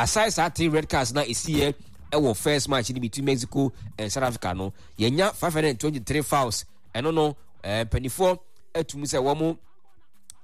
Aside saa three red cards na ɛsiiɛ ɛwɔ first match no between Mexico and South Africa no, yɛnya 523 fouls. Ɛno no, mpanimfoɔ atumi sɛ wɔn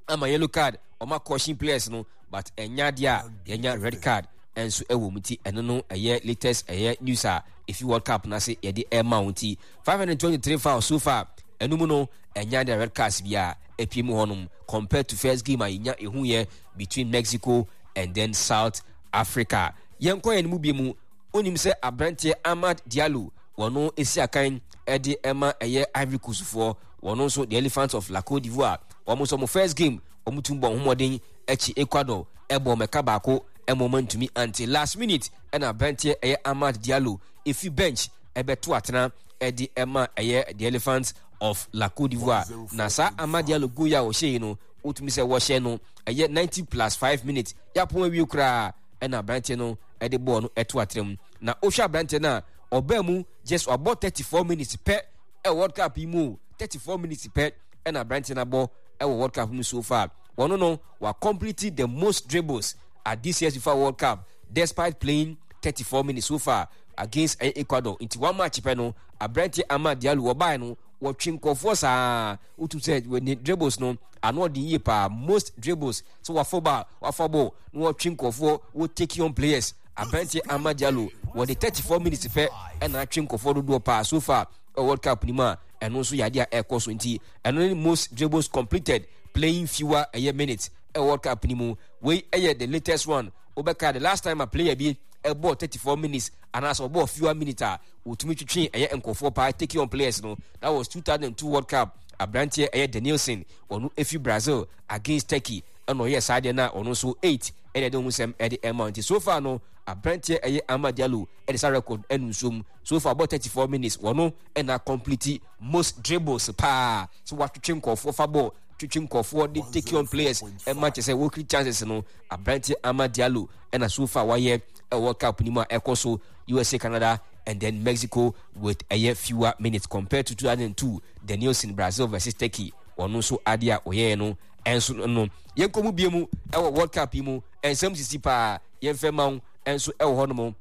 ama yellow card, wɔn akɔhyin players no, but ɛnya adeɛ a yɛnya red card nso ɛwɔ mu. Ti ɛno no ɛyɛ latest ɛyɛ news a efi World Cup n'ase yɛde ɛma wɔn. Ti 523 fouls so far, ɛno mu no ɛnya adeɛ red cards bi a epie mu hɔnom compared to first game a yɛnya ehu yɛ between Mexico and then South Africa. Yɛnkɔ yɛn mu bi mu. Onim sɛ aberanteɛ Amad Diallo, wɔn esi akan ɛde ɛma ɛyɛ Ivory Coast foɔ, wɔn nso the Elephants of La Cote d'Ivoire, wɔn nso wɔn first game wɔn tum bɔ wɔn akyi Ecuador ɛbɔ mɛka baako ɛma wɔn ntumi ante. Last minute ɛna aberanteɛ ɛyɛ Amad Diallo efi bench ɛbɛto atena ɛde ɛma ɛyɛ the Elephants of La Cote d'Ivoire. Na saa Amad Diallo goal yi a wɔhyɛ yi no, wotumi sɛ wɔhyɛ no ɛyɛ 90 plus 5 minutes, yɛapɔn awie koraa ɛna aberanteɛ no ɛde bɔɔl no ɛto atena mu. Na wohwɛ aberanteɛ no a ɔbaa mu, just wabɔ 34 minutes pɛ ɛwɔ World Cup yi mu. 34 minutes pɛ ɛna aberanteɛ no abɔ ɛwɔ World Cup mu so far. Wɔn no wa complete the most dribbles at this year's FIFA World Cup despite playing 34 minutes so far against Ecuador. Nti one match pɛ no, aberanteɛ Amad Diallo wɔbaeɛ no, wɔtwe nkɔfoɔ saa. Wotum sɛ ne dribbles no ano ɔden yie paa. Most dribbles sɛ wafa ba wafa ball na wɔtwe nkɔfoɔ, wɔ take on players. Aberanteɛ Amad Diallo wɔde 34 minutes pɛ ɛna atwe nkɔfoɔ dodoɔ paa so far ɛwɔ World Cup no mu a ɛno nso yɛ adeɛ a ɛkɔ so. Nti ɛno ne most dribbles completed playing fewer ɛyɛ minutes ɛwɔ World Cup no mu. Wei ɛyɛ the latest one. Wobɛka the last time a player bi ɛbɔɔ 34 minutes anaasɛ ɔbɔɔ fewer minutes a wɔtumi twitwe ɛyɛ nkɔfoɔ paa, take on players no, that was 2002 World Cup. Aberanteɛ ɛyɛ Denilson, ɔno efi Brazil, against Turkey ɛna ɔyɛ saa deɛ, na ɔno nso 8 ɛna ɛde ho nsɛm ɛde ɛma. Nti so far no, aberanteɛ ɛyɛ Amad Diallo ɛde saa record ɛnu nsom. So far bɔ 34 minutes, wɔno ɛna complete most dribbles paa so watwetwe nkɔfoɔ fa ball, twetwe nkɔfoɔ de take on players, ɛma kyɛ sɛ wɔkiri chances no. Aberanteɛ Amad Diallo ɛna so far wayɛ ɛwɔ cup ni mu a ɛkɔ so USA, Canada and then Mexico with ɛyɛ fewer minutes compared to 2002 Denilson, Brazil versus Turkey, wɔn nso adeɛ a wɔyɛɛ no ɛnso no. Yɛnkɔ mu bie mu ɛwɔ World Cup yi mu, nsɛm sisi paa yɛmfɛ ma wo ɛnso ɛwɔ hɔnom.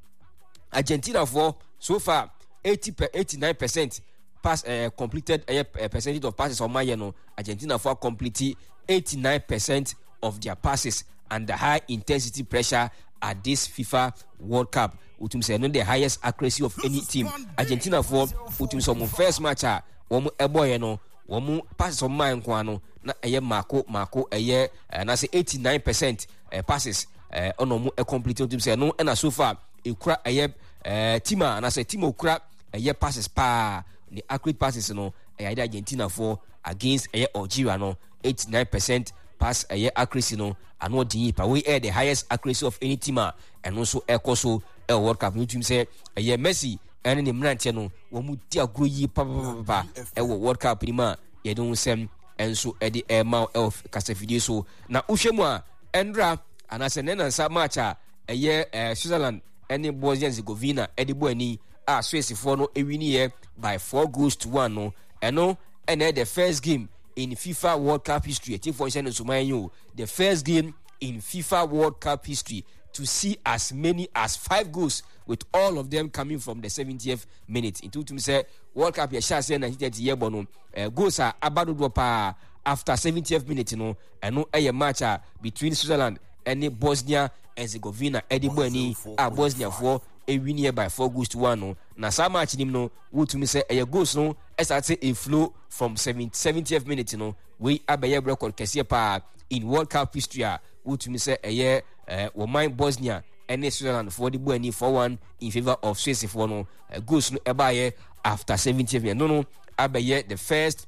Argentinafoɔ so far 80 per 89% pass completed, ɛyɛ percentage of passes ɔmo ayɛ no, Argentinafoɔ complete 89% of their passes under high intensity pressure at this FIFA World Cup. Wotum sɛ ɛno the highest accuracy of any team. Argentinafoɔ, wotum sɛ ɔmo first match a wɔn ɛbɔɔyɛ no, wɔn passes wɔn maa nko ano na ɛyɛ mako mako ɛyɛ anaasɛ 89% passes ɛna wɔn complete. Wotum sɛ ɛno ɛna so far ekura ɛyɛ team a anaasɛ team okura ɛyɛ passes paa, ne accurate passes no ɛyɛ ade Argentinafoɔ against ɛyɛ Algeria no, 89% pass ɛyɛ accuracy no ano ɔden yie pa. Wei ɛyɛ the highest accuracy of any team a ɛno nso ɛkɔ so ɛwɔ World Cup no. Tum sɛ ɛyɛ Messi ɛne ne mmeranteɛ no, wɔn mu di agorɔ yie papapapa ɛwɔ World Cup no mu a yɛde ho nsɛm ɛnso ɛde ɛma ɛwɔ kasafidie so. Na wohwɛ mu a, ɛnra anaasɛ ne nansa match a ɛyɛ Switzerland ɛne Bosnia Herzegovina ɛde bɔ ani a Swissfoɔ no ewiniɛ by 4 goals to 1 no, ɛno ɛna the first game in FIFA World Cup history. Ɛtifoɔ nhyɛ no nsoman yi o, the first game in FIFA World Cup history to see as many as five goals with all of them coming from the 70th minute. Nti wotum sɛ World Cup yɛhyɛ aseɛ 1930 yɛbɔ no, goals a aba dodoɔ paa after 70th minute no, ɛno ɛyɛ match a between Switzerland ɛne Bosnia Herzegovina ɛde bɔ ani a Bosniafoɔ ewiniɛ by 4 goals to 1 no. Na saa match nim no, wotumi sɛ ɛyɛ goals no ɛstart a flow from 70th minute no. Wei abɛyɛ record kɛseɛ paa in World Cup history a wotumi sɛ ɛyɛ wɔman Bosnia ɛne Switzerland foɔ de bɔ ani 4-1 in favour of Swiss foɔ no. Goals no ɛbaayɛ after 70th minute no abɛyɛ the first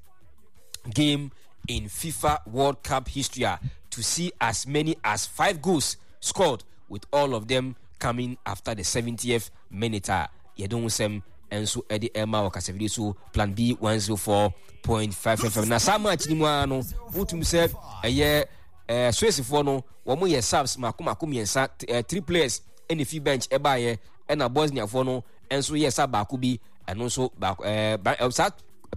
game in FIFA World Cup history to see as many as five goals scored with all of them coming after the 70th minute a yɛde ho nsɛm nso de ɛma wɔ kasafidie so Plan B 104.5 FM. Na saa match ni mu ara no, wotumi sɛ ɛyɛ Swissfoɔ no wɔn yɛ subs mako mako mmiɛnsa, three players ɛna fi bench ɛbaayɛ, ɛna Bosniafoɔ no nso yɛ sub baako bi, ɛno nso baako. Saa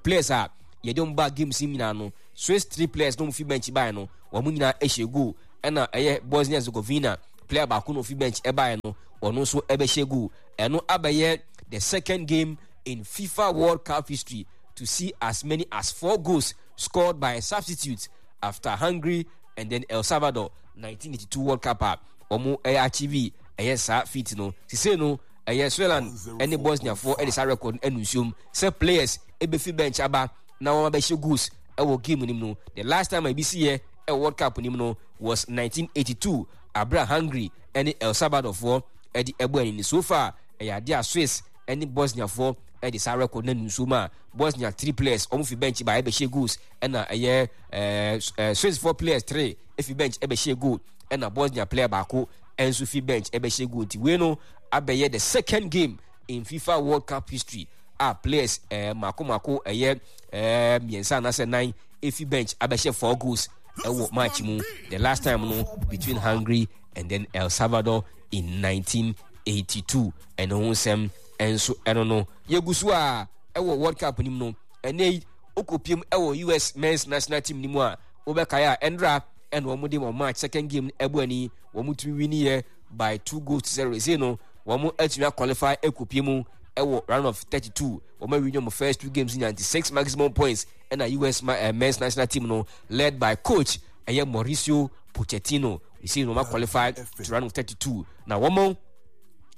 players a yɛde wɔn ba games nyinaa no, Swiss three players na wɔn fi bench baeɛ no, wɔn nyinaa ɛhyɛ goal, ɛna ɛyɛ Bosnia Herzegovina. Player baako na ofi bench ɛbaeɛ no, ɔno nso ɛbɛhyɛ goal. Ɛno abɛyɛ the second game in FIFA World Cup history to see as many as four goals scored by a substitute after Hungary and then El Salvador 1982 World Cup a wɔn ɛyɛ achieve ɛyɛ saa feat no. Sisei no ɛyɛ Switzerland ɛne Bosniafoɔ ɛde saa record no ɛnu nsuom sɛ players ɛbɛfi bench aba na wɔn abɛhyɛ goals ɛwɔ game no mu no. The last time a ebi si yɛ ɛwɔ World Cup no mu no was 1982 abere a Hungary ɛne El Salvador foɔ ɛde ɛbɔ ani no. So far ɛyɛ adeɛ a Swiss ɛne Bosniafoɔ ɛde saa record no anu nsuom a Bosnia three players wɔn fi bench ba ɛbɛhyɛ goals ɛna ɛyɛ ɛɛ Swiss four players three efi bench ɛbɛhyɛ goal ɛna Bosnia player baako ɛnso fi bench ɛbɛhyɛ goal nti wei no abɛyɛ the second game in FIFA World Cup history a players ɛɛ mako mako ɛyɛ ɛɛ mmiɛnsa anaasɛ nan efi bench abɛhyɛ four goals ɛwɔ match mu. The last time no between Hungary and then El Salvador in 1982. Ɛno ho nsɛm nso ɛno no yɛgu so a ɛwɔ World Cup nim no. Ɛnɛ yi okopiem ɛwɔ US men's national team nim a wobɛkae a ɛndra ɛna wɔn de wɔn match second game ɛbɔ ani wɔn tumi wini yɛ by 2 goals to 0. Ɛsei no wɔn atumi aqualify ɛkopie mu ɛwɔ round of 32. Wɔn awi wɔn first two games nya nti six maximum points ɛna US men's national team no led by coach ɛyɛ Mauricio Pochettino. Ɛsei no wɔn aqualify to round of 32 na wɔn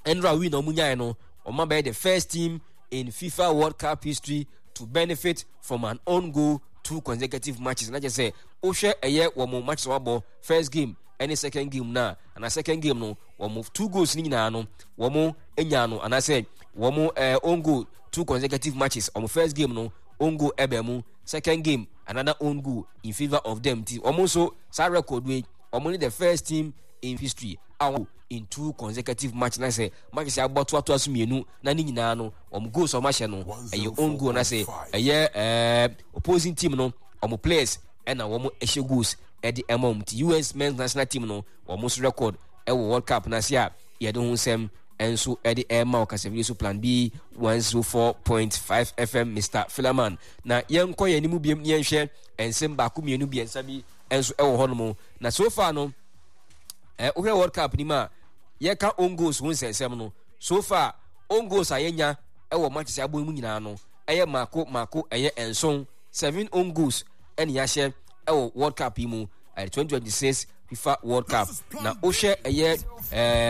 ɛndra win na wɔn nyae no wɔn abɛyɛ the first team in FIFA World Cup history to benefit from an own goal two consecutive matches. Na kyerɛ sɛ wohwɛ ɛyɛ wɔn matches wɔn abɔ first game ɛne second game na ana second game no wɔn two goals ne nyinaa no wɔn nya no anaasɛ wɔn own goal two consecutive matches. Wɔn first game no own goal ɛbɛn mu, second game another own goal in favour of them ti wɔn nso saa record wei wɔn ne the first team in history a wɔn in two consecutive matches na sɛ matches abɔ toatoa so mmienu na ne nyinaa no wɔn goals a wɔn ahyɛ no ɛyɛ own goal na sɛ ɛyɛ opposing team no wɔn players ɛna wɔn ɛhyɛ goals ɛde ɛma wɔn ti. US men's national team no wɔn nso record ɛwɔ World Cup n'ase a yɛde ho nsɛm nso ɛde ɛma wɔ kasafidie so Plan B 104.5 FM, Mr Philaman. Na yɛnkɔ yɛn anim biem ne yɛnhwɛ nsɛm baako mmienu mmiɛnsa bi nso ɛwɔ hɔnom. Na so far no wohwɛ World Cup ni mu a yɛka own goals ho nsɛnsɛm no, so far own goals a yɛnya ɛwɔ matches abɔ mu nyinaa no ɛyɛ mako mako ɛyɛ nson, seven own goals ɛne yɛahyɛ ɛwɔ World Cup yi mu, ɛyɛ 2026 FIFA World Cup. Na wohwɛ ɛyɛ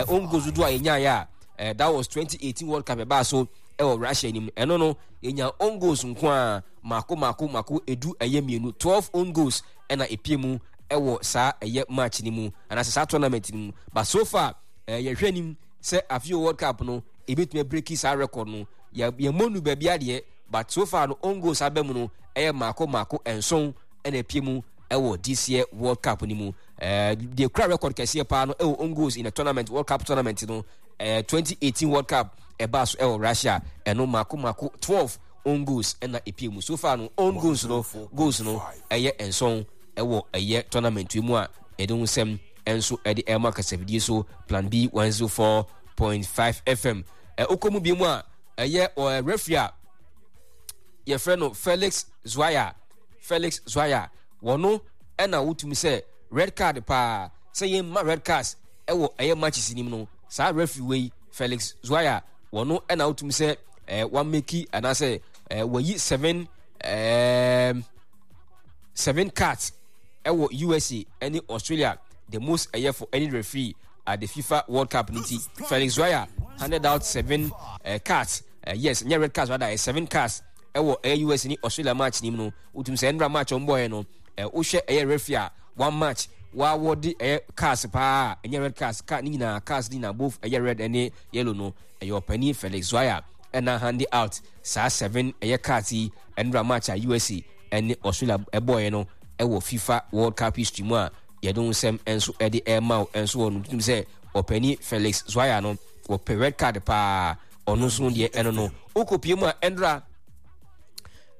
own goals dodoɔ a yɛnyaeɛ a that was 2018 World Cup ɛbaa so ɛwɔ Russia anim. Ɛno no yɛnya own goals nko a mako mako mako edu ɛyɛ mmienu, 12 own goals ɛna epie mu ɛwɔ saa ɛyɛ match no mu anaasɛ saa tournament no mu. But so far yɛhwɛ anim sɛ afei World Cup no ebetumi abreak saa record no. Yɛ yɛmmɔ nu baabi adeɛ, but so far no own goals aba mu no ɛyɛ mako mako nson ɛna epie mu ɛwɔ this year World Cup no mu. Deɛ kura record kɛseɛ paa no ɛwɔ own goals in a tournament, World Cup tournament no, 2018 World Cup ɛbaa so ɛwɔ Russia. Ɛno mako mako 12 own goals ɛna epie mu. So far no own goals no ɛyɛ nson ɛwɔ ɛyɛ tournament yi mu a yɛde ho nsɛm nso ɛde ɛma kasafidie so Plan B 104.5 FM. Wokɔ mu bi mu a ɛyɛ referee a yɛfrɛ no Felix Zwayer. Felix Zwayer wɔno ɛna wotumi sɛ red card paa sɛ yɛmma red cards ɛwɔ ɛyɛ matches nim no. Saa referee wei Felix Zwayer wɔno ɛna wotumi sɛ wamake anaasɛ wayi seven cards ɛwɔ USA ɛne Australia, the most ɛyɛ for any referee at the FIFA World Cup no. Nti Felix Zwayer handed out seven cards, yes, nyɛ red cards, rather seven cards ɛwɔ ɛyɛ US ne Australia match nim no. Wotumi sɛ ɛnra match ɔmo bɔɔyɛ no wohwɛ ɛyɛ referee a one match wawɔde ɛyɛ cards paa, ɛnyɛ red cards, card ne nyinaa, cards ne nyinaa both ɛyɛ red ɛne yellow no, ɛyɛ ɔpanin Felix Zwayer ɛna hand out saa seven ɛyɛ cards yi ɛnra match a USA ɛne Australia ɛbɔɔyɛ no ɛwɔ FIFA World Cup history mu a yɛde ho nsɛm nso ɛde ɛma wo nso wɔ no. Tutum sɛ ɔpanin Felix Zwayer no wɔpɛ red card paa. Ɔno nso deɛ ɛno no wokɔpie mu a ɛnra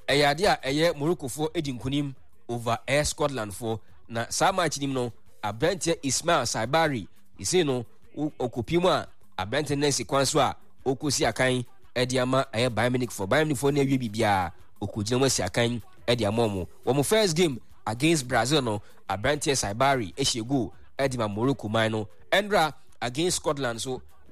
ɛyɛ adeɛ a ɛyɛ Moroccofoɔ edi nkunim over ɛyɛ Scotlandfoɔ. Na saa match nim no aberanteɛ Ismail Saibari ɛsei no ɔkɔpie mu a aberanteɛ no asi kwan so a ɔkɔsi akan ɛde ama ɛyɛ Bayern Munich foɔ. Bayern Munich foɔ no awie biribiara ɔkɔgyina mu asi akan ɛde ama wɔn first game against Brazil no aberanteɛ Saibari ɛhyɛ goal ɛde ma Morocco man no ɛnra. against Scotland so.